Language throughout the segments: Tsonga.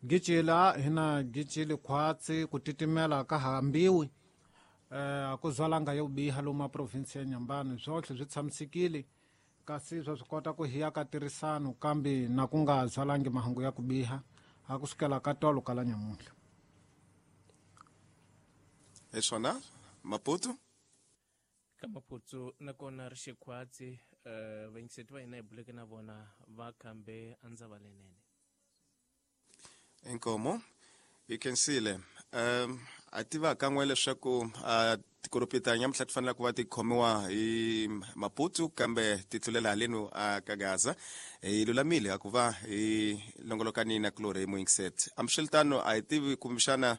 Gicila hina gicili khwatsi ku titimela ka hambiwi a ku zwalanga yo biha lomu a province ya Inhambane swotlhe swi tshamisekile kasi swa swi kota ku hiya ka tirhisano kambe na ku nga zwalangi mahungu ya ku biha a ku sukela ka tolo ka la nyamuntlha. Hi swona Maputo. Ka Maputo nakona ri xikhwatsi vayingiseti va hina hi buleke na vona va khambe andzava lenene. Inkomo hi khensile. A tiva kan'we leswaku tikoropita nyamuhla ti fanele ku va ti khomiwa hi Maputo kambe ti tlulela halenu a ka Gaza. Hi lulamile a ku va hi longolokani na kulorhi hi muyingiseti. Hambiswiritano a hi tivi kumbexana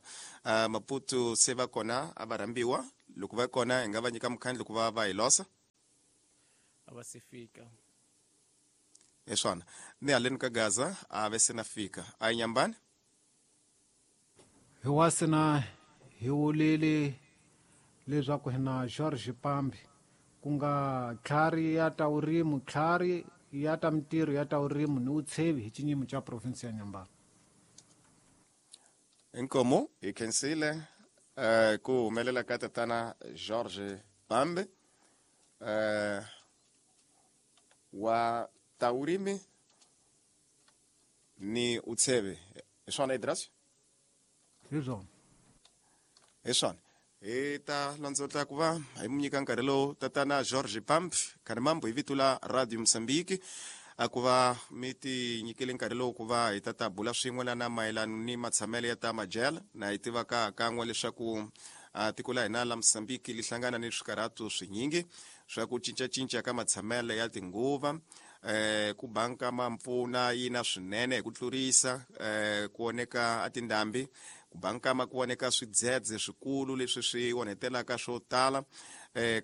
Maputo se va kona a va rhambiwa loko va kona hi nga va nyika mukhandlu ku va va hi losa. A va se fika. Hi swona ni haleni ka Gaza a ve se na fika. A hi nyambani. Hi wasina hi wulile leswaku hina George Pambi ku nga tlhari ya ta vurimi, tlhari ya ta mintirho ya ta vurimi ni vutshevi hi xinyimo xa province ya Inhambane. Inkomo hi khensile ku humelela ka tatana George Pambi wa ta vurimi ni utsheve. Hi swona Idras? Hi swona. Hi swona. Hi ta landzotla ku va hi mu nyika nkarhi lowu tatana George Pamp Khanimambo hi vito la Radio Mozambique a ku va mi ti nyikele nkarhi lowu ku va hi ta ta bula swin'we lana mayelano ni matshamelo ya ta majele na hi tiva ka kan'we leswaku tiko la hina la Mozambique li hlangana ni swikarhato swinyingi swa ku cincacinca ka matshamelo ya tinguva ku banka ma mpfuna yina swinene hi ku tlurisa ku oneka a tindhambi ku banka ma ku oneka swidzedze swikulu leswi swi onhetelaka swo tala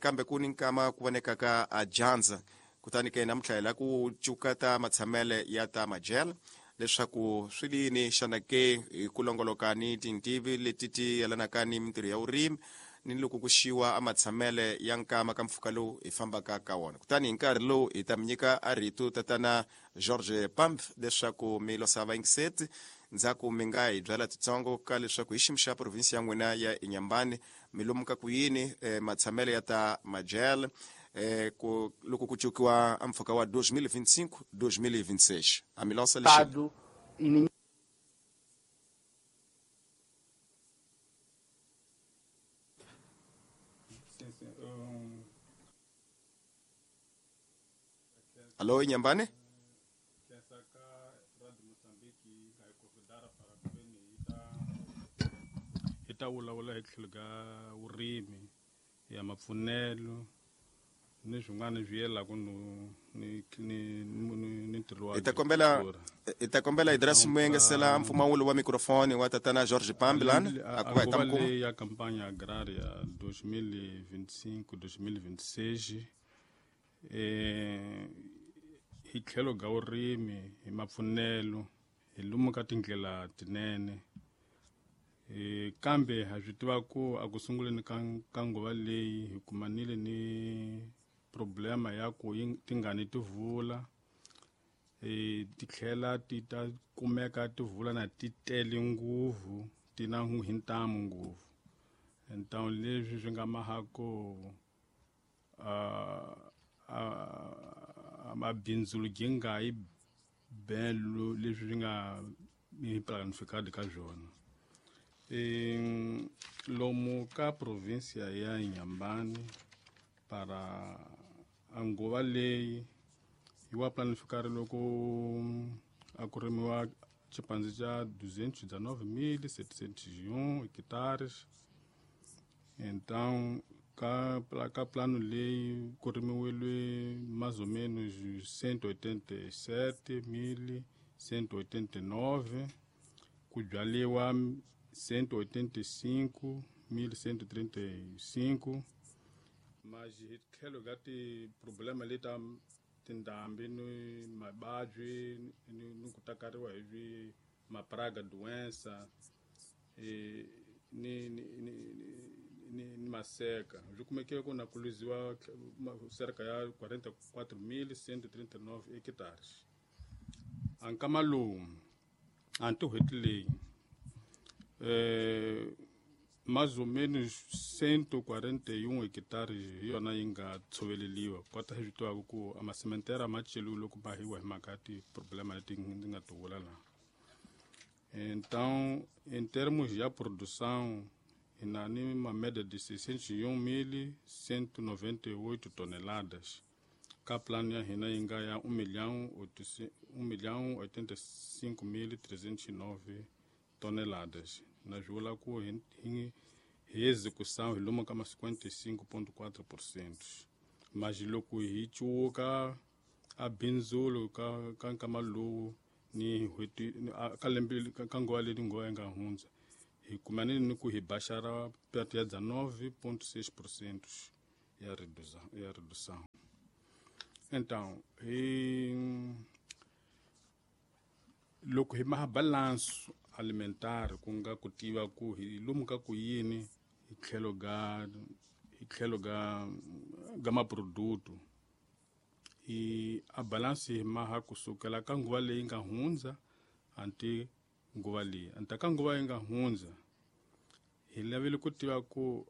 kambe ku ni nkama ku vonekaka a dyandza kutani ke namuntlha hi la ku cuka ta matshamele ya ta majele leswaku swi lini xana ke hi ku longoloka ni tintivi leti ti yelanaka ni mintirho ya vurimi ni loko ku xiwa a matshamele ya nkama ka mpfhuka lowu hi fambaka ka wona. Kutani hi nkarhi lowu hi ta mi nyika a rito tatana George Pamp leswaku mi losa vayingiseti ndzhaku mi nga hi byala titsongo ka leswaku hi xiyimo xa provinsi ya n'wina ya Inhambane mi lomuka ku yini matshamele ya ta majele ku loko ku cukiwa a mpfhuka wa 2025 2026 a mi losa lexi. Allo Inhambane? Hi ta vulavula hi tlhelo ka vurimi ya mapfunelo ni swin'wana swi yelaka no ni ni ni ntirho wa Hi ta kombela hi ta kombela Idris Muyengesela mpfumawulo wa mikrofoni wa tatana George Pambilan a ku va hi ta nguva mi kuma. leyi ya campanya agraria 2025 2026 hi tlhelo ka vurimi hi mapfunelo hi lomu ka tindlela tinene kambe ha swi tiva ku a ku sunguleni ka nguva leyi hi kumanile ni problema ya ku tingani ti vula ti tlhela ti ta kumeka ti vula na ti tele ngopfu ti na hi ntamu ngopfu ntamu leswi swi nga mahako mabindzu gi nga yi belo leswi swi nga ni planificado ka swona. Lomu ka provincia ya Inhambane para a nguva leyi yi wa planificado loko a ku rimiwa xipandzi xa 219,701 hectares. Então ka plano leyi ku rimiwile mais ou menos 187,189 ku byaliwa 185,135 mas hi tlhelo ka ti-problema leta tindhambi ni mavabyi ni ku takariwa hi swi mapraga doença ni ni ni ni ni maseka swi kumeke ku na ku luziwa cerca ya 44,139 hectares. A nkama lowu Anti n'hweti leyi mais ou menos 141 hekitare hi yona yi nga tshoveleliwa kota hi swi tivaka ku a masementera ma celiwe loko mahiwa hi mhaka ya tiproblema leti ndzi nga ti vula laha. Então, em termos de produção, hi na ni uma média de 601.198 toneladas ka plano ya hina yi nga ya 1.085.309 toneladas. Na swi vula ku hi execução hi lomu ka ma 55,4%. Mas loko hi cuwuka a bindzulo ka nkama lowu ni n'hweti ka lembe ka nguva leyi nguva yi nga hundza hi kumanile ni ku hi baxara perto ya 19,6% ya redução. Então, hi loko hi maha balance alimentar ku nga ku tiva ku hi lomu ka ku yini hi tlhelo ga maproduto hi a balance hi maha kusukela ka nguva leyi nga hundza anti nguva leyi anta ka nguva yi nga hundza hi lavile ku tiva ku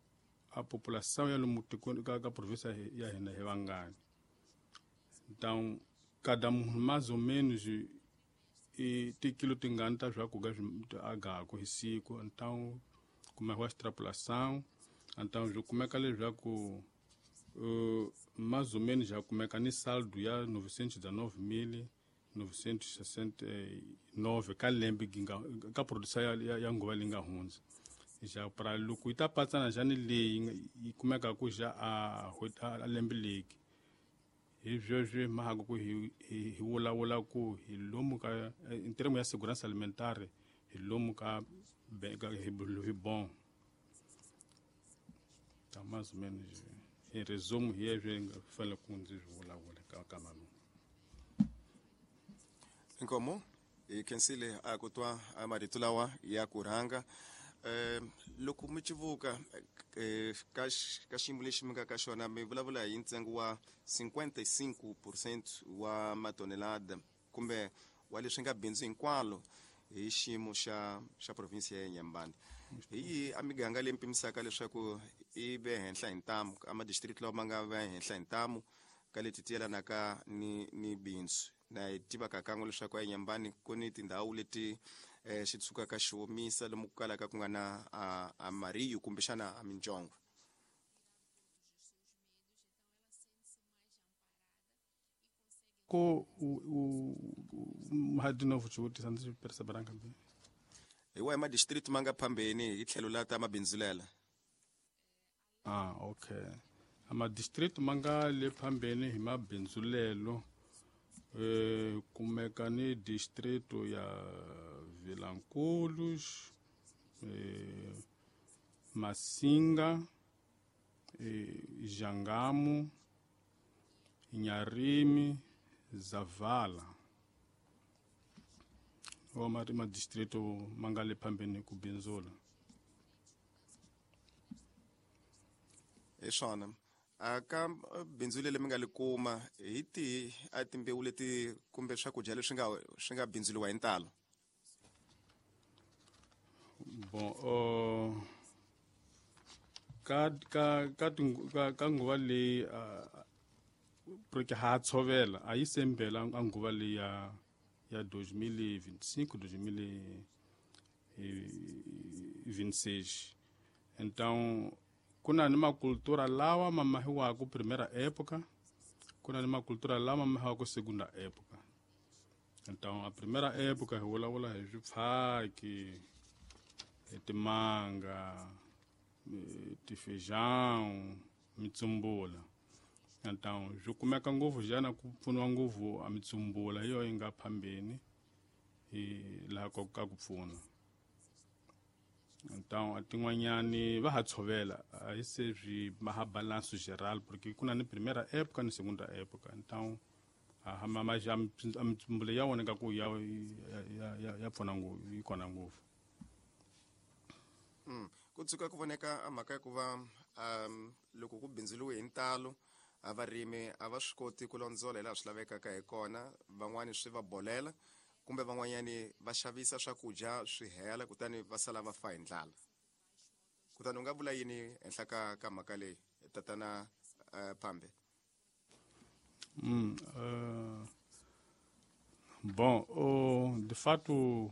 a population ya lomu tikweni ka province ya hina hi vangani. Então, cada munhu mais ou menos i tikilo tingani ta swakudya swi agaku hi siku. Então kumekiwa extrapolação. Então swi kumeka leswaku mais ou menos já kumeka ni saldo ya 919.969 ka lembe ka produção ya nguva leyi nga hundza. Já para loko yi ta patsana njhani leyi yi kumeka ku ja a lembe leyi hi sweswi mahaka ku hi vulavula ku hi lomu ka in termo ya segurança alimentare hi lomu ka hi bon. Tá mais ou menos em resumo hi leswi nga fanele ku ndzi swi vulavula ka kama lowu. Inkomo hi khensile a ku twa a marito lawa ya ku rhanga. Loko mi civuka ka xiyimo lexi mi nga ka xona mi vulavula hi ntsengo wa 55% wa matonelada kumbe wa leswi nga bindzu hinkwalo hi xiyimo xa province ya Inhambane. Hi yihi a miganga leyi mi pimisaka leswaku i ve henhla hi ntamu a madistrict lawa ma nga ve henhla hi ntamu ka leti ti yelanaka ni bindzu? Na hi tivaka kan'we leswaku a Inhambane ku ni tindhawu leti xi tshukaka xi omisa lomu ku kalaka ku nga na a mariyu kumbexana a minjongo. Ko de novo xivutiso ndzi perceberanga bem. Hi wahi madistrict ma nga phambeni hi tlhelo la ta mabindzulela? Ah, okay. A madistrict ma nga le phambeni hi mabindzulelo kumeka ni distrito ya Vilanculos, Massinga, Jangamo, Inharime, Zavala. Wa mari madistrito ma nga le phambeni ku bindzula. Hi swona. A ka bindzu leri mi nga li kuma hi tihi a timbewu leti kumbe swakudya leswi swi nga bindzuliwa hi ntalo? Bon, ka nguva leyi porque ha tshovela a yi sembela a nguva leyi ya 2025 2026. Então ku na ni makultura lawa ma mahiwaka primeira época, ku na ni makultura lawa ma mahiwaka segunda época. Então a primeira época hi vulavula hi swipfhaki, hi timanga, tifeijão, mitsumbula. Então swi kumeka ngopfu xana ku pfuniwa ngopfu a mitsumbula hi yona yi nga phambeni hi laha ka ku pfuna. Então a tin'wanyani va ha tshovela a hi se swi maha balanço geral porque ku na ni primeira época ni segunda época. Então a mitsumbula ya wona nga ku ya pfuna ngopfu yi kona ngopfu. Ku tshuka ku voneka a mhaka ya ku va loko ku bindzuriwe hi ntalo a varimi a va swi koti ku londzola hi laha swi lavekaka hi kona, van'wani swi va bolela Kumbe van'wanyani va xavisa swakudya swi hela kutani va sala va fa hi ndlala. Kutani u nga vula yini henhla ka mhaka leyi, tatana Pambe? Bom, de fato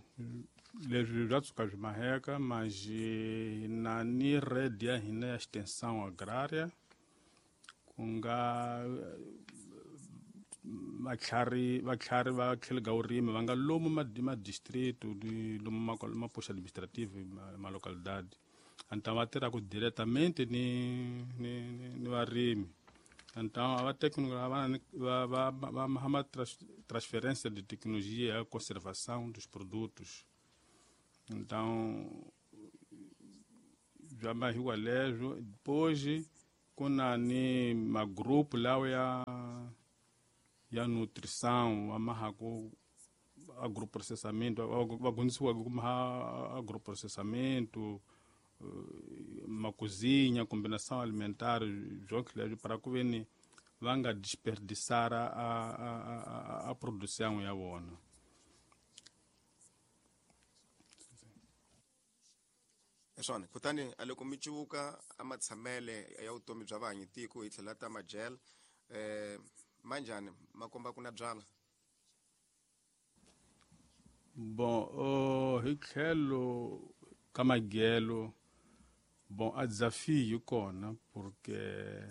leswi bya tshuka byi maheka, mas hi na ni rede ya hina ya extensão agrária, ku nga vatlhari va tlhelo ka vurimi va nga lomu ma distrito, lomu ma posto administrativo, ma localidade. Então va tirhaka diretamente ni varimi. Então a técnico va va transferência de tecnologia e conservação dos produtos. Então bya mahiwa leswo. Depois ku na ni magrupu lawa ya nutrição, va mahaku agroprocessamento, va dyondzisiwaka ku maha agroprocessamento, macozinha, combinação alimentar, jonke leswo, para ku ve ni va nga desperdiçar a produção ya vona. Hi swona. Kutani a loko mi cuvuka a matshamele ya vutomi bya vahanyi tiko hi tlhela ta majele, manjhani ma komba ku na byala? Bon, hi tlhelo ka magelo, bon, a desafio yi kona, porque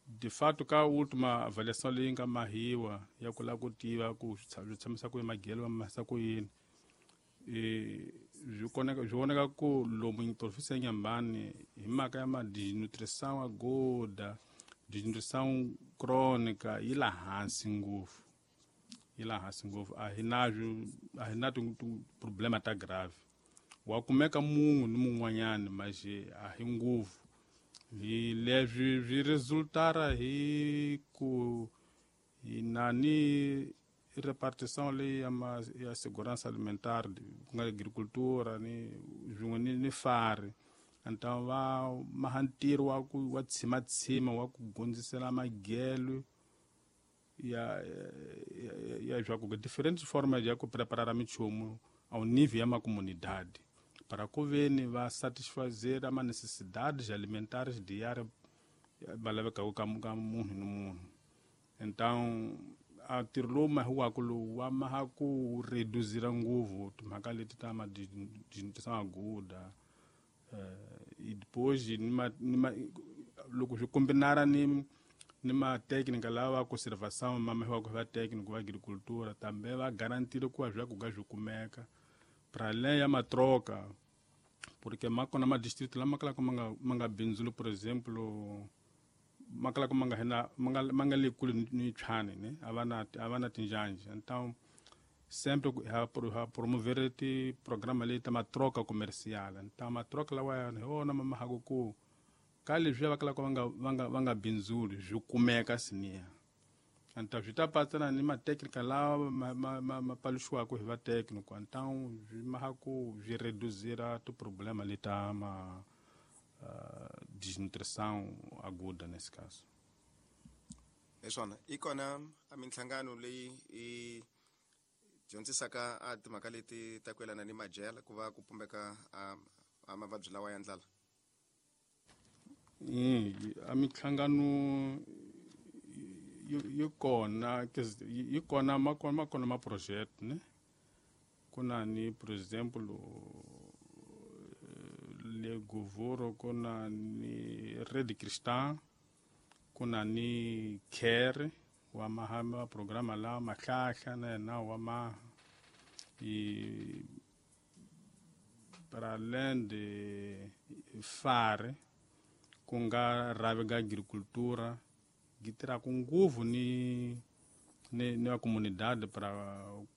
de fato ka última avaliação leyi nga mahiwa ya ku lava ku tiva ku swi tshamisa ku yini magelo, va mahisa ku yini, byi koneka, byi vonaka ku lomu província ya Inhambane, hi mhaka ya ma desnutrição aguda, desnutrição crônica, yi la hansi ngopfu, yi la hansi ngopfu. A hi nazwo, a hi na problema ta grave. Wa kumeka munhu ni mun'wanyani, mas a hi ngopfu. Hi leswi swi resultara hi ku hi na ni repartição leyi ya segurança alimentar, ku nga agricultura ni swin'we ni fari. Então va maha ntirho wa ku wa tshimatsima wa ku gondzisela magelo ya swa ku diferentes formas ya ku preparar minchumu ao nível ya macomunidade, para ku veni va satisfazer ama necessidades alimentares diárias va lavekaka ka munhu ni munhu. Então a ntirho lowu mahiwaka lowu wa maha ku reduzira ngopfu timhaka leti ta ma desnutrição aguda, e depois ni ma loko swi kombinara ni matécnica lava conservação ma mahiwaka hi va técnico va agricultura, também va garantire ku va swakudya swi kumeka para além ya matroca, porque ma kona madistrito lama kalaka ma nga bindzuli, por exemplo, ma kalaka ma nga hina ma nga le kule ni tshwane ne, a va na tinjanja. Então sempre ha promover ti programa leyi ta matroca comercial. Então matroca lawa hi wona ma mahaka ku ka leswiya va kalaka va nga bindzuli swi kumeka siniya. Então swi ta patsana ni matécnica lawa ma paluxiwaka hi va técnico. Então swi maha ku swi reduzira tiproblema leta ma desnutrição aguda nesse caso. Hi swona. Yi kona a minhlangano leyi yi dyondzisaka a timhaka leti ta ku yelana ni madyela ku va ku pumbeka a mavabyi lawa ya ndlala? A minhlangano yi kona, yi kona, ma kona ma projet ne. Ku na ni, por exemplo, le Govoro ku na ni Rede Cristã, ku na ni Care wa maha ma programa lawa mahlahla na yena wa maha i para além de fare, ku nga rhavi ga agricultura gi tirhaka ngopfu ni va comunidade para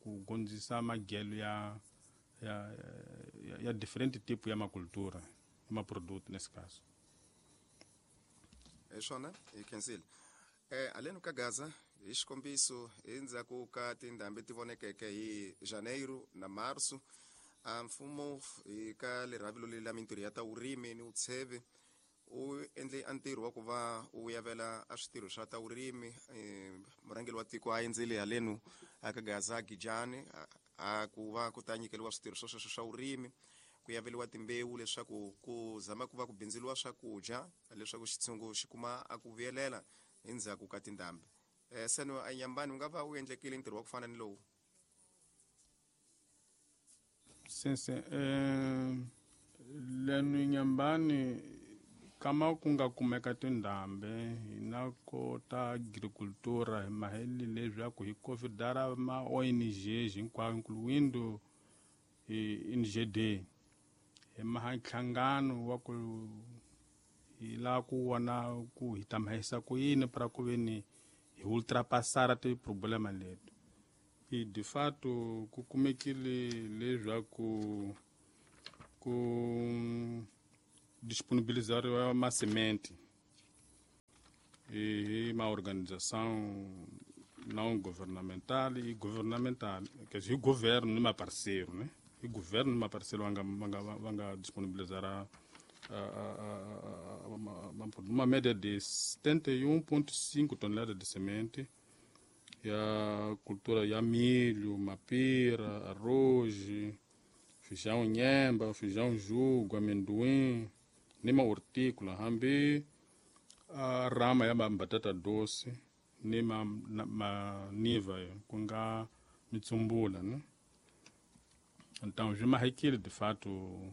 ku gondzisa magelo ya diferente tipo ya macultura, ma produto nesse caso. Hi swona, hi khensile. Haleni ka Gaza, hi xikombiso, endzhaku ka tindhambi ti vonekeke hi Janeiro na Marso, a mfumo hi ka lerhavilo leri la mintirho ya ta vurimi ni vutsheve U endle a ntirho wa ku va u yavela a switirho swa ta vurimi, murhangeri wa tiko a endzele halenu aka Gaza Gijani a ku va ku ta nyikeriwa switirho swo sweswo swa vurimi, ku yaveliwa timbewu leswaku ku zama ku va ku bindzuriwa swakudya leswaku xitshungu xi kuma a ku vuyelela endzhaku ka tindhambi. Seno a Nyambani u nga va u endlekile ntirho wa ku fana ni lowu? Sense lenu Nyambani kama ku nga kumeka tindhambi hina kota agricultura hi maheli leswaku hi considera ma ONG hinkwayo incluindo NGD hi maha nhlangano wa ku hi lava ku vona ku hi ta mahisa ku yini para ku veni hi ultrapassara ti-problema leti. I de fato ku kumekile leswaku ku disponibilizariwa masemente hi ma organização não governamental e governamental, quer dizer, governo ni maparceiro, né? E governo ni maparceiro va nga disponibilizar uma média de 71,5 toneladas de semente ya cultura ya milho, mapira, arroz, feijão nhemba, feijão jugo, amendoim, ni ma hortícola, hambi a rama ya batata doce ni ma maniva ku nga mitsumbula, né? Então swi mahekile de fato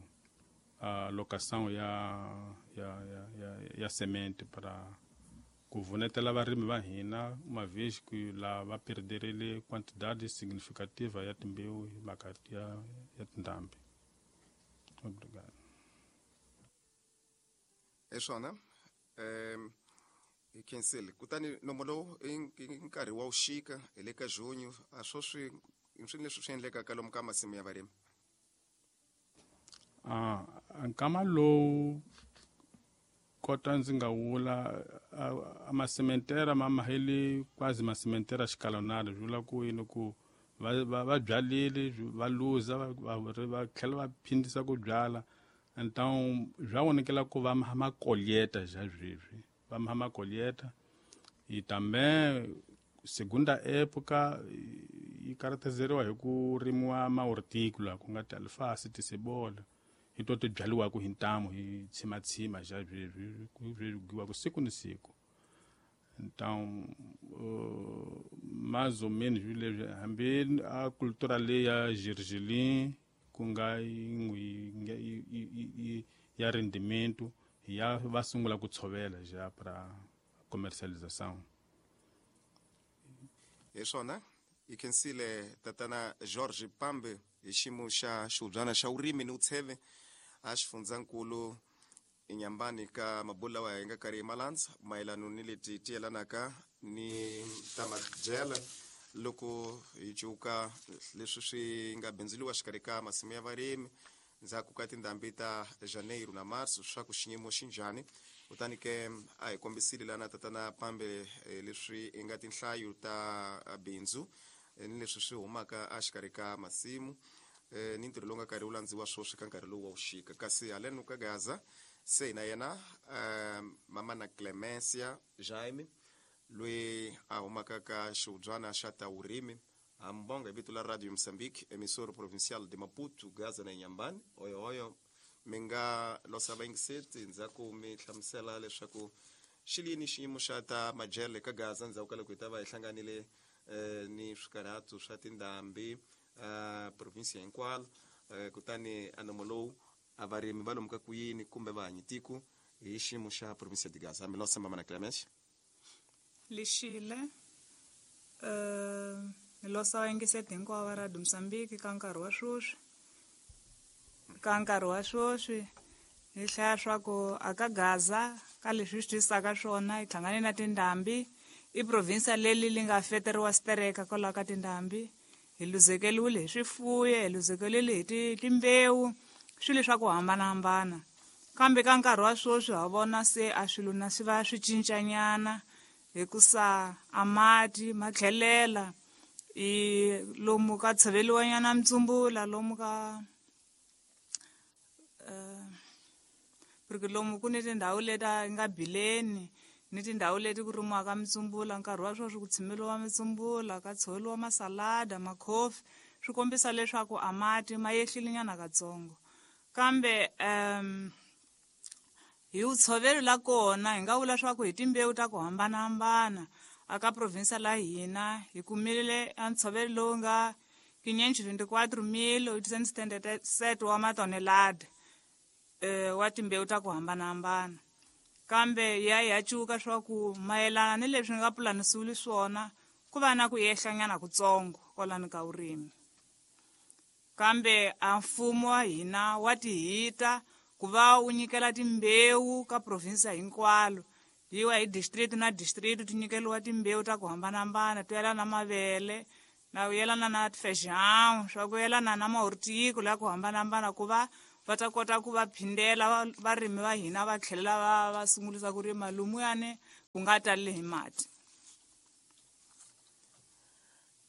a locação ya semente para ku vunetela varimi va hina uma vez que la va perderile quantidade significativa ya timbewu hi mhaka ya tindhambi. Obrigado. Hi swona, hi khensile. Kutani nomo lowu i nkarhi wa vuxika hi le ka junho, a swo swi swi leswi swi endlekaka lomu ka masimu ya varimi? Nkama lowu kota ndzi nga vula a masementera ma maheli quase masementera xikalonari, swi vula ku yini ku va byalile va luza va tlhela va phindisa ku byala. Então swa vonakela ku va makolheta já sweswi va makolheta. E também segunda época yi caracterizeriwa hi ku rimiwa ma-hortícola ku nga ti-alface, ti-cebola, hi to ti byaliwaka hi ntamu hi tshimatshima já sweswi swi giwaka siku ni siku. Então mais ou menos leswi hambi a cultura leyi ya gergelim ku nga yin'we ya rendimento ya va sungula ku tshovela já para comercialização. Hi swona, hi khensile tatana George Pambe hi xiyimo xa xihubyana xa vurimi ni vutsheve a xifundzankulu eNyambani ka mabulo lawa hi nga karhi hi malandza mayelana ni leti ti yelanaka ni ta madyela loko hi cuka leswi swi nga bindzuriwa xikarhi ka masimu ya varimi ndzhaku ka tindhambi ta Janeiro na Marso swa ku xiyimo xi njhani. Kutani ke a hi kombisile lana tatana Pambe leswi i nga tinhlayo ta bindzu ni leswi swi humaka exikarhi ka masimu ni ntirho lowu nga karhi wu landziwa swoswi ka nkarhi lowu wa vuxika. Kasi haleno ka Gaza se na yena mama na Clemencia Jaime loyi a humaka ka xihubyana xa ta vurimi hambonga hi vito la Radio Mozambique, emissora provincial de Maputo, Gaza na Inhambane. Oyo oyo mi nga losa vayingiseti ndzhaku mi hlamusela leswaku xi lini xiyimo xa ta madyele ka Gaza ndzhaku ka loko hi ta va hi hlanganile ni swikarhato swa tindhambi provinsia hinkwalo, kutani a nomo lowu a varimi va lomu ka ku yini kumbe va hanyi tiko hi xiyimo xa provinsia de Gaza. Mi losa mama na Clemence. Lexile ni losa vayingiseti hinkwavo va Radio Mozambique ka nkarhi wa sweswi. Ka nkarhi wa sweswi hi hlaya swa ku aka Gaza ka leswi swi twisaka swona hi hlangane na tindhambi i provinsia leli li nga feteriwa stereka kwalaho ka tindhambi, hi luzekeliwile hi swifuyo, hi luzekeliwile hi timbewu, swilo swa ku hambanahambana. Kambe ka nkarhi wa sweswi ha vona se a swilo na swi va swi cincanyana hikusa a mati ma tlhelela i lomu ka tshoveliwanyana mitsumbula lomu ka Porque lomu ku ni tindhawu leti a nga bileni ni tindhawu leti ku rimiwaka mitsumbula, nkarhi wa sweswi ku tshimeliwa mitsumbula, ka tshoveriwa masalada, makhofi, swi kombisa leswaku a mati ma yehlile nyana katsongo. Kambe hi vutshoveri la kona hi nga vula swa ku hi timbewu ta ku hambanahambana aka province la hina hi kumile a ntshovelo lowu nga 524,877 wa matonelada wa timbewu ta ku hambanahambana. Kambe ya cuka swa ku mayelana ni leswi nga pulanisiwile swona ku va na ku yehlanyana kutsongo kwalano ka vurimi. Kambe a mfumo wa hina wa tihita ku va wu nyikela timbewu ka province hinkwalo, yiwa hi district na district ti nyikeliwa timbewu ta ku hambanahambana to yelana na mavele na ku yelana na feijão, swa ku yelana na mahortico ya ku hambanahambana, ku va va ta kota ku va phindela varimi va hina va tlhelela va sungulisa ku rima lumuyani ku nga taleli hi mati.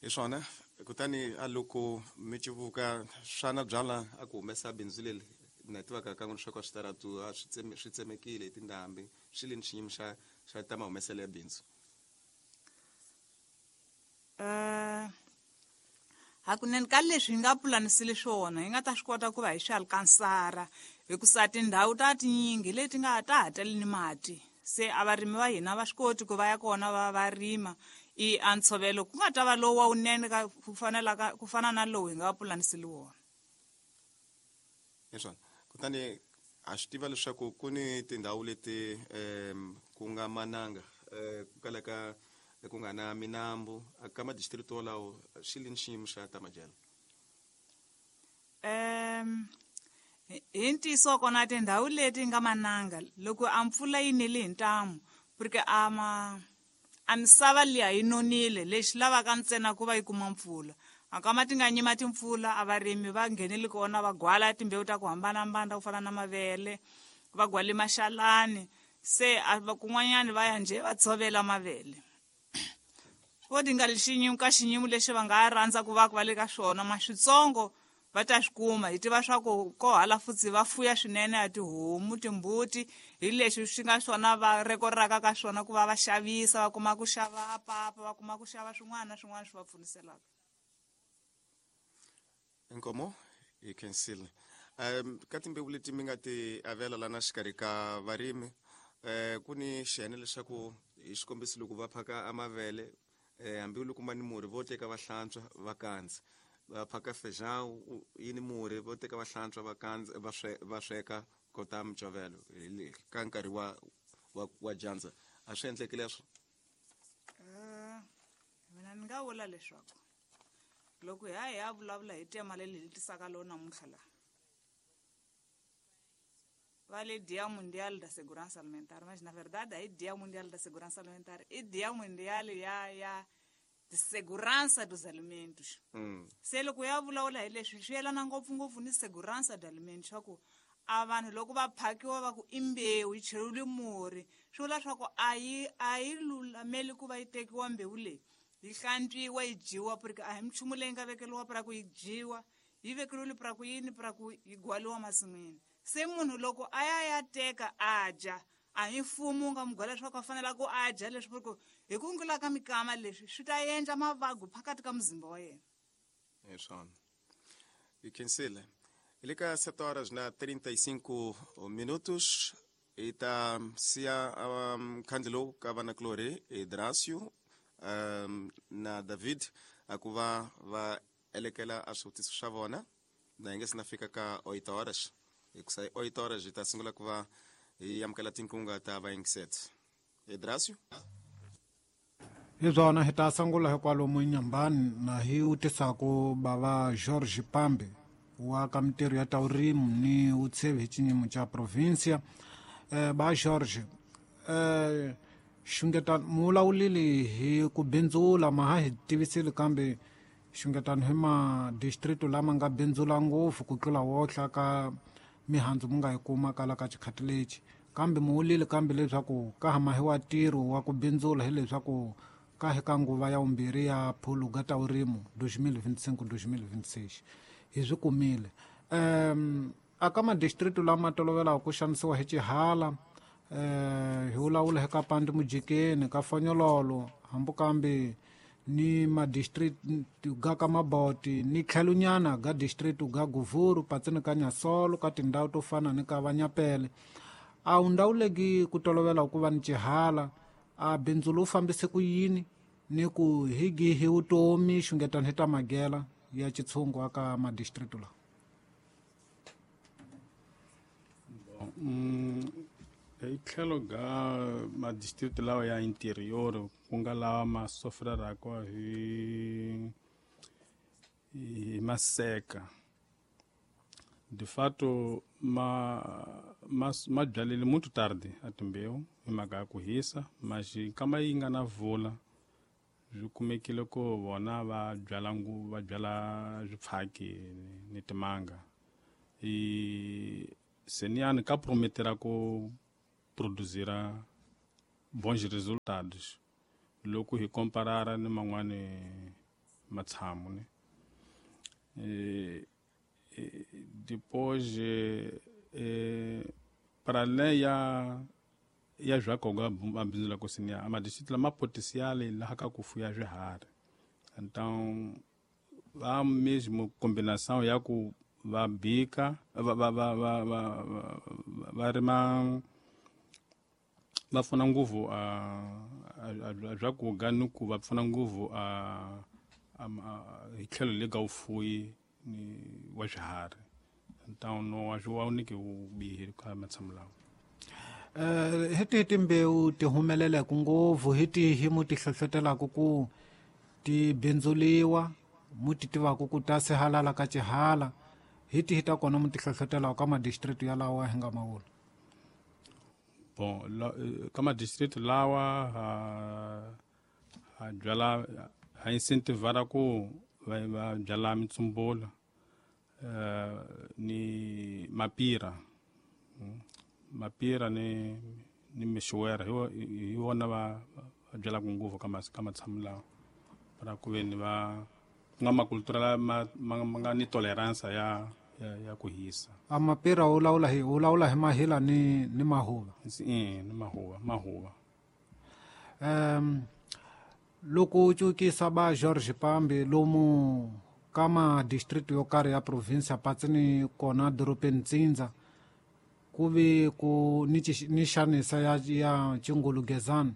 Hi swona. Kutani a loko mi civuka swana byala a ku humesa bindzu leri na tivaka ka n'wina swa switaratu a swi tsemekile hi tindhambi, swi le ni xiyimo xa ta mahumeselo ya bindzu. Hakunene ka leswi hi nga pulanisile swona hi nga ta swi kota ku va hi swi alkansara, hikusa tindhawu ta tinyingi leti nga ta ha tali ni mati, se a varimi va hina va swi koti ku va ya kona va rima. I a ntshovelo ku nga ta va lowu wa wunene ka ku fanelaka ku fana na lowu hi nga pulanisile wona. Hi swona. Kutani ha swi tiva leswaku ku ni tindhawu leti ku nga mananga, ku kalaka ku nga na minambu ka madistrict wolawo, xi le ni xiyimo xa ta madyelo? Hi ntiyiso kona tindhawu leti nga mananga loko a mpfula yi nile hi ntamu, porque a ma a misava liya yi nonile, lexi lavaka ntsena ku va yi kuma mpfula. Akama ti nga nyima timpfula, a varimi va nghenele kona va gwala timbewu ta ku hambanahambana ku fana na mavele, va gwale maxalani, se a kun'wanyani va ya njhe va tshovela mavele. Vo ti nga xinyimo ka xinyimo lexi va nga rhandza ku va va le ka swona, ma switsongo va ta swi kuma. Hi tiva swa ku ko hala futsi va fuya swinene ya tihomu, timbuti, hi leswi swi nga swona va rekoraka ka swona ku va va xavisa, va kuma ku xava papa, va kuma ku xava swin'wana na swin'wana swi va pfuniselaka. Inkomo hi khensile. Ka timbewu leti mi nga ti avela lana xikarhi ka varimi, ku ni xiyenge leswaku hi xikombiso loko va phaka amavele, hambi loko ma ni murhi vo teka va hlantswa va kandza, va phaka feijão yi ni murhi vo teka va hlantswa va kandza va sweka kota micovelo ka nkarhi wa dyandza, a swi endleki leswo? Mina ni nga vula leswaku loko hi ya vulavula hi tema leri hi tisaka lowu namuntlha laha va le Dia Mundial da Segurança Alimentar, mas na verdade aí Dia Mundial da Segurança Alimentar i Dia Mundial ya de Segurança dos Alimentos. Se loko ya vulavula hi leswi swi yelana ngopfungopfu ni segurança de alimentos, swa ku a vanhu loko va phakiwa va ku i mbewu yi cheriwile murhi, swi vula swa ku a yi lulameli ku va yi tekiwa mbewu leyi yi hlantswiwa yi dyiwa, porque a hi minchumu leyi nga vekeriwa pra ku yi dyiwa, yi vekeriwile pra ku yini, pra ku yi gwaliwa masin'wini. Se munhu loko a ya teka a dya, a hi mfumo wu nga mu gwala leswaku a fanela ku a dya leswi, porque hi ku ngula ka mikama leswi swi ta endla mavabyi phakathi ka muzimba wa yena. Hi swona. Hi khensile. Hi le ka 7 horas na 35 minutos, hi ta siya khandle lowu ka vanakulorhi Dracio na David a ku va va elekela a swivutiso swa vona na hi nge se na fika ka 8 horas, hikusa hi 8 horas hi ta sungula ku va hi amukela tinkunga ta vayingiseti. Dracio? Hi byona, hi ta sungula hikwalomu Nyambani na hi vutisaku bava George Pambe wa ka mintirho ya ta vurimi ni vutshevi hi xinyimo xa provincia. Ba George, xungetano mu vulavulile hi ku bindzula, ma ha hi tivisile, kambe xungetano hi ma district lama nga bindzula ngopfu ku tlula wohla ka mihandzu mu nga yi kuma kala ka xikhathi lexi, kambe mu vulile kambe leswaku ka ha mahiwa ntirho wa ku bindzula, hileswaku ka hi ka nguva ya vumbirhi ya phuluga ta vurimi 2025 2026 hi swi kumile. Aka madistritu lama tolovelaka ku xanisiwa hi xihala, hi vulavula hi ka Pandi Mujikeni, ka Fonyololo, hambi kambe ni madistrict ga ka Maboti, ni tlhelonyana ga district ga Guvuru, patsini ka Nyasolo, ka tindhawu to fana ni ka Vanyapele. A wu ndhawu ku tolovela ku va ni xihala, a bindzu lowu fambise ku yini ni ku hi gihi vutomi xungetani hi ta magela ya xitshungu aka madistrict lawa? Hi tlhelo ga madistrict lawa ya interior, ku nga lawa ma sofreraka hi maseka, de fato ma byalile muito tarde a timbewu hi mhaka ya ku hisa, mas nkama yi nga na vula swi kumekile ku vona va byala va byala swipfhaki ni timanga. I seniyani ka prometera ku produzira bons resultados loko hi komparara ni man'wani matshamu ne. Depois para além ya zvakoga mabindzu la kusiniya a madistrict lama potencial laha ka ku fuya swiharhi, então va mesmo combinação ya ku va bika va va va va va va rima va pfuna ngopfu a swakudya ni ku va pfuna ngopfu a hi tlhelo le ka vufuwi ni wa swiharhi. Então no wa swi wa niki wu bihi ka matshamu lawa. Hi tihi timbewu ti humeleleke ngopfu, hi tihi mu ti hlohlotelaka ku ti bindzuliwa, mu ti tivaka ku ta sihalala ka xihala, hi tihi ta kona mu ti hlohlotelaka ka madistrict yalawa hi nga ma vula? Bon, ka madistrict lawa ha byala, ha incentivara ku va byala mitsumbula ni mapira. Mapira ni mixuwera hi wona va byalaka ngopfu ka matshamu lawa, para ku ve ni va ku nga makultura ma nga ni tolerance ya ku hisa. A mapira wu lawula hi mahila ni mahuva. Ni mahuva. Loko u cukisa ba George Pambi lomu ka madistrict yo karhi ya province patsini kona dorobeni Ntsindza, ku ve ku ni xanisa ya Chingulugezani,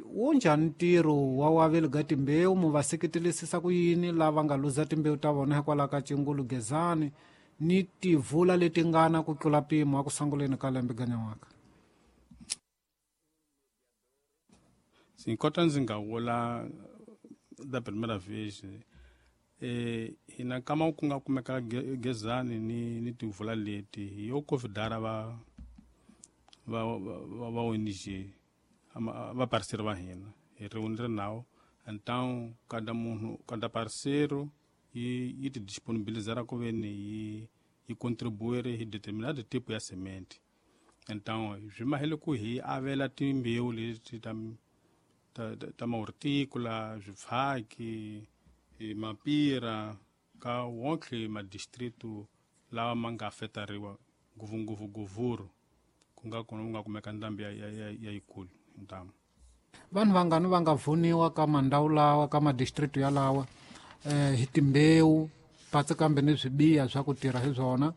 wu njhani ntirho wa waveli ga timbewu? Mu va seketelisisa ku yini lava nga luza timbewu ta vona hikwalaho ka Chingulugezani ni tivula leti ngana ku tlula mpimo a ku sunguleni ka lembe ganyan'waka? Sim, kota ndzi nga vula da primeira vez, hina kama ku nga kumeka gezani ni tivula leti hi yo convidar va ONG va parceiro va hina hi ri nawu. Então cada munhu, cada parceiro yi ti disponibilizar ku ve ni yi contribuir hi determinado tipo ya semente. Então swi mahele ku hi avela timbewu leti ta mahortícola, swipfhaki, mapira ka wonke madistritu lawa ma nga afetariwa ngopfungopfu Guvuru, ku nga kona ku nga kumeka ndhambi ya yikulu ntamu. Vanhu vangani va nga vuniwa ka mandhawu lawa, ka madistrict yalawa, hi timbewu patsi kambe ni swibiya swa ku tirha hi swona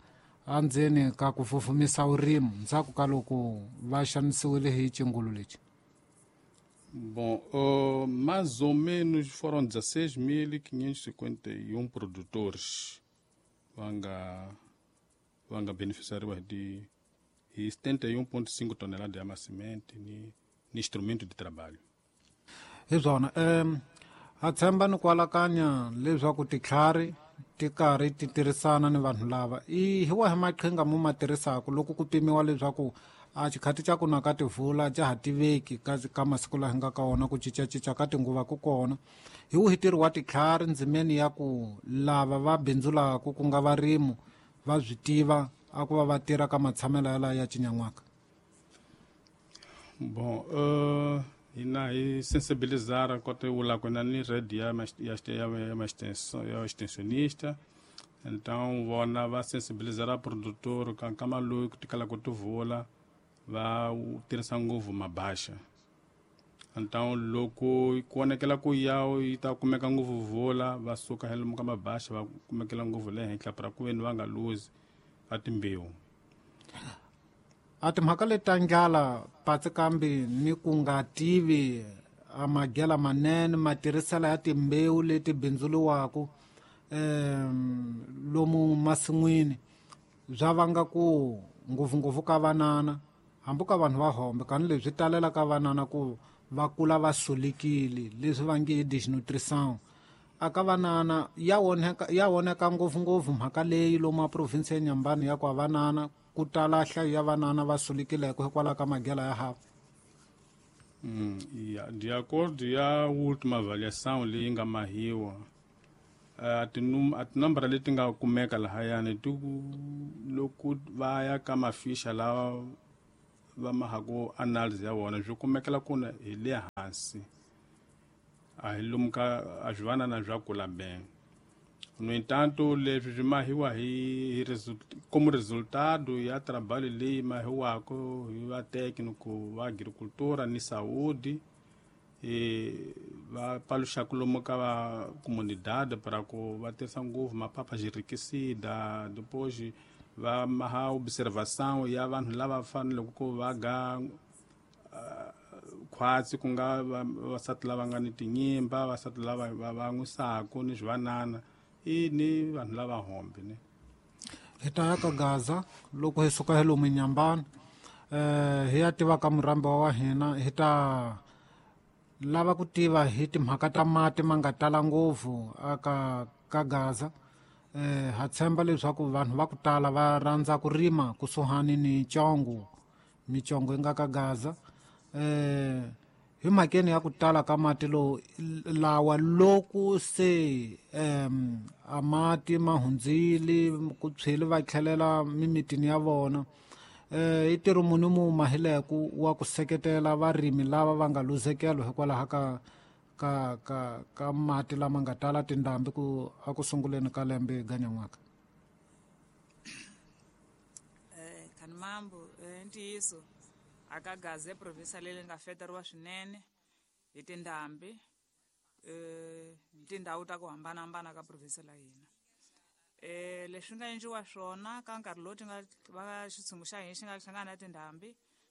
andzeni ka ku fufumisa vurimi ndzhaku ka loko va xanisiwile hi xingulu lexi? Bom, mais ou menos foram 16.551 produtores vanga beneficiariwa de 71,5 toneladas de semente ni instrumento de trabalho. Hi swona, ha tshemba ni ku alakanya leswaku titlhari ti karhi ti tirhisana ni vanhu lava. I hi wahi maqhinga mu ma tirhisaka loko ku pimiwa leswaku a xikhati xa ku na ka tivula xa ha tiveki ka masiku laha hi nga ka wona, ku cincacinca ka tinguva ku kona, hi wihi ntirho wa titlhari ndzimeni ya ku lava va bindzulaka ku nga varimi va swi tiva a ku va va tirha ka matshamelo yalawa ya cinyan'waka? Bom, hina hi sensibilizar kota vula ku na ni rede ya extensionista, Então vona va sensibilizar produtor ka nkama lowu ku tikala ku tivula va tirhisa ngopfu mabaxa. Então loko ku vonakela ku ya yi ta kumeka ngopfu vula va suka hi lomu ka mabaxa va kumekela ngopfu le henhla para ku veni va nga luzi ka timbewu. A timhaka leti ta ndlala patsi kambe ni ku nga tivi a magela manene matirhiselo ya timbewu leti bindzuriwaka lomu masin'wini bya vanga ku ngopfungopfu ka vanana hambi ka vanhu va hombe kani leswi talela ka vanana ku va kula va solekile leswi va nge i desnutrition a ka vanana ya onhaka ngopfungopfu mhaka leyi lomu a province ya Nyambani ya ku vanana ku tala nhlayo ya vanana va solekileke hikwalaho ka magela ya hava. Ya de acordo ya última avaliação leyi nga mahiwa a tinambara leti nga kumeka lahayani ti loko va ya ka mafisha lawa va mahaku analysis ya vona swi kumekela kuna hi le hansi a hi lomu ka a swi vanana swa kula bem. No entanto leswi swi mahiwa hi como resultado ya trabalho leyi mahiwaka hi va técnico va agricultura ni saúde va paluxaka lomu ka va comunidade para ku va tirhisa ngopfu mapapa xirikisida depois va maha observação ya vanhu lava faneleke ku va ga khwatsi ku nga vavasati lava nga ni tinyimba vavasati lava va n'wisaku ni swivanana i ni vanhu lava hombe ne. Hi ta ya ka Gaza loko hi suka hi lomu Nyambani hi ya tiva ka murhambi wa hina hi ta lava ku tiva hi timhaka ta mati ma nga tala ngopfu aka ka Gaza. Ha tshemba leswaku vanhu va ku tala va rhandza ku rima kusuhani ni Congo micongo yi nga ka Gaza. Hi mhakeni ya ku tala ka mati lowu lawa loko se a mati ma hundzile ku tshweli va tlhelela mimitini ya vona i ntirho muni mu mahileku wa ku seketela varimi lava va nga luzekelo hikwalaho ka ka ka ka mati lama nga tala tindhambi ku a ku sunguleni ka lembe ganyan'waka. Khanimambo ntiyiso aka Gaza province leyi nga feteriwa swinene hi tindhambi tindhawu ta ku hambanahambana ka province la hina. Leswi nga endliwa swona ka nkarhi lowu ti nga va xitshungu xa hina xi nga hlangana na tindhambi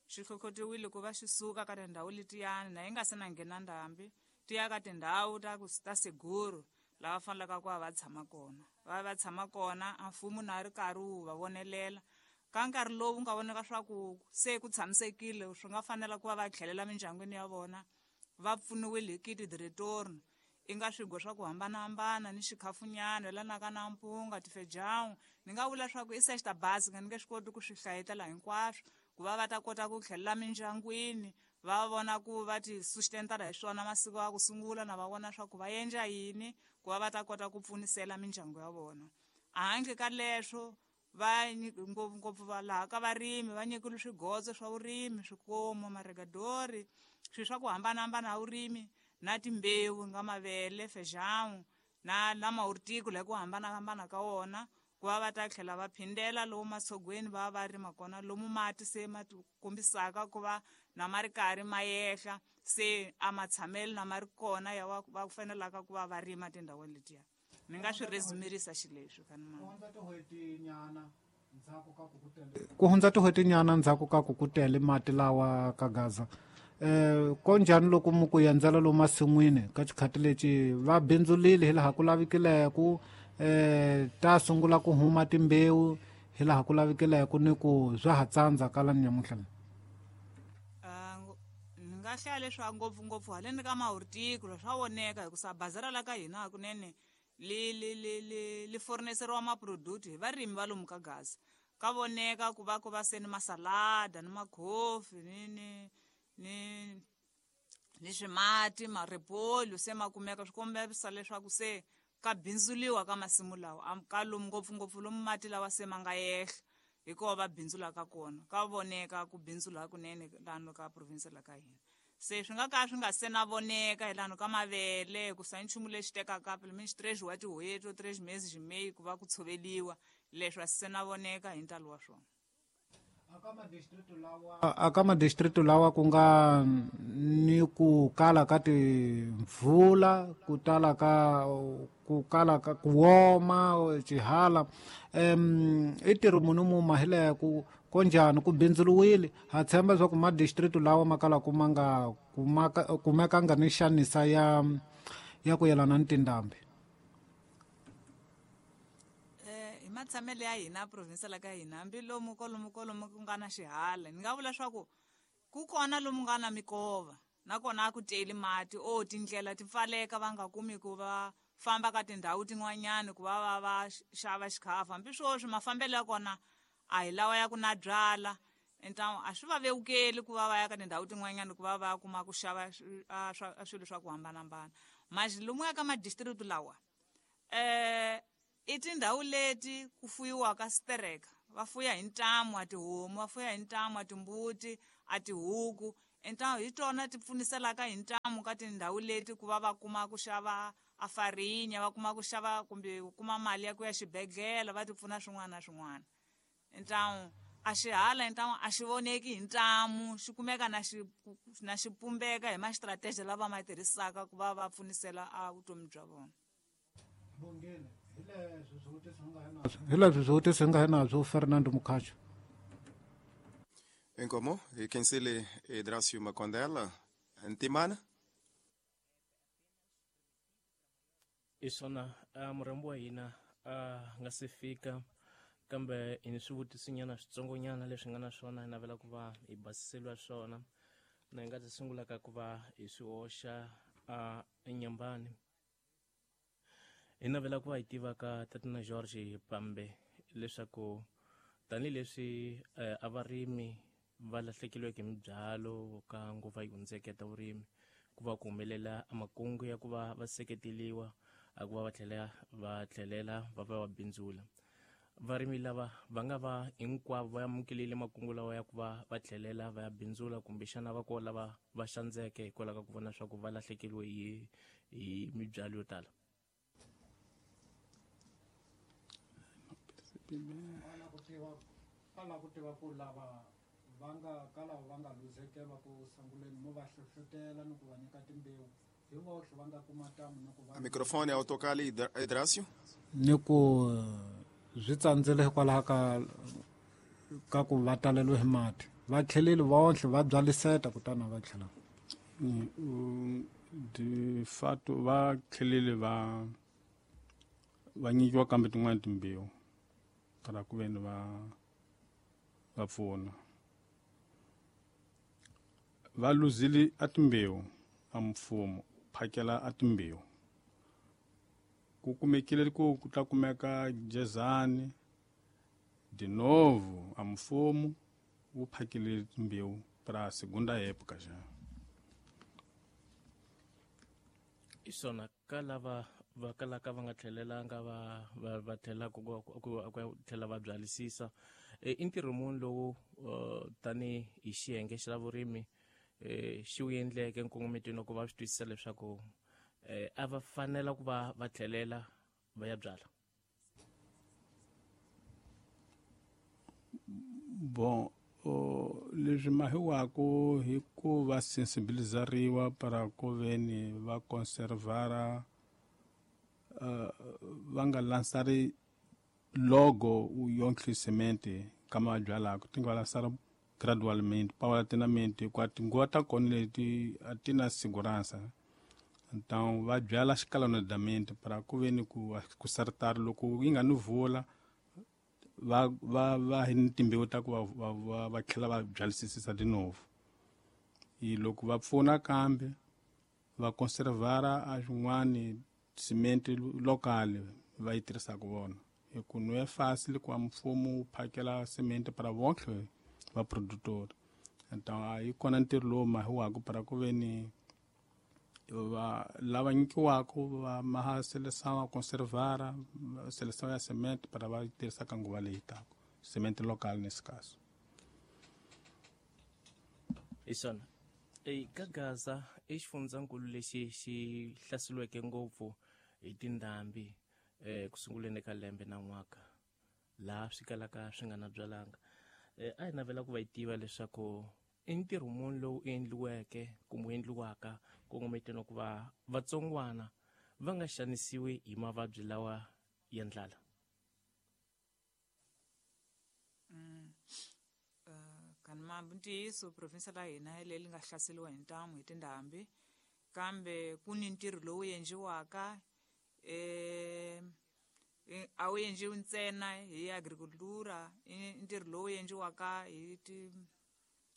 xi hlohlotiwile ku va xi suka ka tindhawu letiyani na yi nga se na nghena ndhambi ti ya ka tindhawu ta seguro lava fanelaka ku va va tshama kona va tshama kona a mfumo na ri karhi wu va vonelela ka nkarhi lowu nga vonaka swa ku se ku tshamisekile swi nga fanela ku va va tlhelela mindyangwini ya vona va pfuniwile hi kiti de retorno i nga swigo swa ku hambanahambana ni xikhafunyana yelanaka na mpunga tifejawu ni nga vula swa ku i sexta basi nga ni nge swi koti ku swi hlayetela hinkwaswo ku va va ta kota ku tlhelela mindyangwini va vona ku va ti sustentara hi swona masiku ya ku sungula na va vona swa ku va endla yini ku va va ta kota ku pfunisela mindyangu ya vona. Handle ka leswo va ngopfungopfu va laha ka varimi va nyikile swigotso swa vurimi swikomo maregadori swilo swa ku hambanahambana ya vurimi na timbewu nga mavele fejamu na mahortico la ku hambanahambana ka wona ku va va ta tlhela va phindela lomu matshogweni va va rima kona lomu mati se ma kombisaka ku va na ma ri karhi ma yehla se a matshamelo na ma ri kona ya va fanelaka ku va va rima tindhawini letiya. Ni nga swi resumirisa xileswi Khanimambo. Ku hundza tin'hwetinyana ndzhaku ka ku ku tele mati lawa ka Gaza konjhani loko mu ku endzela lomu masin'wini ka xikhati lexi va bindzulile hi laha ku lavikileke ta sungula ku huma timbewu hi laha ku lavikileke ni ku swa ha tsandza ka la nyamuntlha. Ni nga hlaya leswaku ngopfungopfu haleni ka mahortico swa voneka hikusa bazara la ka hina hakunene li furniseriwa maproduct hi varimi va lomu ka Gaza ka voneka ku va ku va se ni masalada ni makhofi ni swimati maripolu se ma kumeka swi kombisa leswaku se ka bindzuliwa ka masimu lawa ka lomu ngopfungopfu lomu mati lawa se ma nga yehla hikuva va bindzulaka kona ka voneka ku bindzula hakunene lano ka province la ka hina. Se swi nga ka swi nga se na voneka hi lano ka mavele ku sa nchumu lexi tekaka pelo menos 3 wa tin'hweti 3 meses meyi ku va ku tshoveliwa, leswi a swi se na voneka hi ntalo wa swona. Aka madistritu lawa ku nga ni ku kala ka timvula, ku tala ka ku kala ka ku woma xihala, i ntirho muni mu mahile ku konjhani ku bindzuriwile? Ha tshemba leswaku madistritu lawa ma kalaka ma nga kumekanga ni xanisa ya ku yelana ni tindhambi. Hi matshamelo ya hina province la ka hina, hambi lomu kolomu kolomu ku nga na xihala, ni nga vula leswaku ku kona lomu nga na mikova, nakona a ku teli mati, o tindlela ti pfaleka va nga kumi ku va famba ka tindhawu tin'wanyani ku va va va xava xikhafu. Hambi sweswi mafambelo ya kona a hi lawa ya ku na byala, ntamu a swi va vevukeli ku va va ya ka tindhawu tin'wanyani ku va va kuma ku xava swilo swa ku hambanahambana. Manje lomu ya ka madistrict lawa, i tindhawu leti ku fuyiwaka stereka, va fuya hi ntamu a tihomu, va fuya hi ntamu a timbuti, a tihuku, ntamu hi tona ti pfuniselaka hi ntamu ka tindhawu leti ku va va kuma ku xava a farinya, va kuma ku xava kumbe ku kuma mali ya ku ya xibedhlele, va ti pfuna swin'wana na swin'wana. Ntamu a xihala ntamu a xi voneki hi ntamu, xi kumeka na xi na xi pumbeka hi ma-strategy lava ma tirhisaka ku va va pfunisela a vutomi bya vona. Bongile, hi leswi swivutiso hi nga hinazwo Fernando Mukhacho. Inkomo hi khensile Idrasio Makondela Ntimana. I swona, murhambi wa hina a nga se fika, kambe hi ni swivutisonyana switsongonyana leswi nga na swona hi navela ku va hi basiseliwa swona, na hi nga ta sungula ka ku va hi swi hoxa enyambani. Hi navela ku va hi tiva ka Tatana George Pambe leswaku tanihileswi a varimi va lahlekeriweke hi mibyalo ka nguva yi hundzeke ta vurimi, ku va ku humelela makungu ya ku va va seketeliwa a ku va va tlhelela va va va bindzula. Varimi lava va nga va hinkwavo va amukelile makungu lawa ya ku va va tlhelela va ya bindzula, kumbexana va ko lava va xandzeke hikwalaho ka ku vona leswaku va lahlekeriwe hi mibyalo yo tala. Ala ku tiva ku lava va nga ka lava va nga luzekela ku sunguleni mo va hlohlotela ni ku va nyika timbewu hi vohle va nga kuma tamu ni ku va Microfone ya autocali Idrasio ni ku swi tsandzile hikwalaho ka ku va taleliwe hi mati, va tlheleli vohle va byaliseta kutani va tlhela. De fato va tlhelele va nyikiwa kambe tin'wana timbewu para ku veni va pfuna. Va luzile a timbewu a mfumo phakela a timbewu, ku kumekile ku ta kumeka jezani de novo a mfumo wu phakele timbewu para segunda época já. I swona, ka lava va kalaka va nga tlhelelanga va tlhela ku tlhela va byalisisa, i ntirho muni lowu tani hi xiyenge xa vurimi xi wu endleke nkongometweni ku va swi twisisa leswaku a va fanela ku va va tlhelela va ya byala? Bon, leswi mahiwako hi ku va sensibilizariwa para ku veni va conservara, va nga lansari logo yonke semente kama va byalaka, ti nga va lansara gradualmente paulatinamente, hikuva tinguva ta kona leti a ti na segurança. Então va byala escalonadamente para ku veni ku sartari loko yi nga ni vula va va va hi ni timbewu ta ku va tlhela va byalisisisa de novo. I loko va pfuna kambe va conservara a swin'wani cement local va yi tirhisaka vona, hi ku no é fácil ku mfumo wu phakela cement para vonke va produtor. Então a yi kona ntirho lowu mahiwaka para ku veni va lava nyikiwaka va maha seleção a conservara seleção ya cement para va tirhisa ka nguva leyi taka, cement local nesse caso. I swona. Ka Gaza i xifundzankulu lexi xi hlaseriweke ngopfu hi tindhambi ku sunguleni ka lembe na n'waka laha swi kalaka swi nga na byalanga. A hi navela ku va yi tiva leswaku i ntirho muni lowu endliweke kumbe wu endliwaka kongometeni ku va vatsongwana va nga xanisiwi hi mavabyi lawa ya ndlala. Kanimambi ntiyiso provinsi la hina hi leyi nga hlaseriwa hi ntamu hi tindhambi, kambe ku ni ntirho lowu endliwaka a wu endliwi ntsena hi agricultura, i ntirho lowu endliwaka hi ti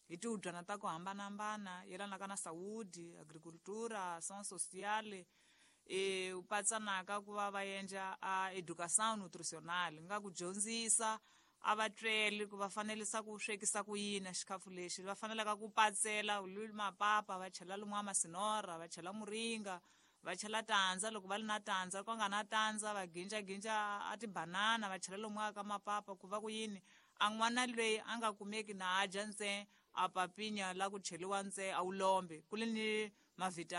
hi tihubyana ta ku hambanahambana yelanaka na saúde, agricultura, ação social, u patsanaka ku va va endla a educação nutricional, nga ku dyondzisa a va tweli ku va fanelisa ku swekisa ku yini xikhafu lexi va fanelaka ku patsela mapapa va chela lomuya masinora, va chela muringa, va chela tandza loko va ri na tandza ku nga na tandza va ginjaginja a tibanana va chela lomuya ka mapapa ku va ku yini a n'wana loyi a nga kumeki na a dya ntsena a papinya la ku cheliwa ntsena a wu lombe ku li ni mavhitamini.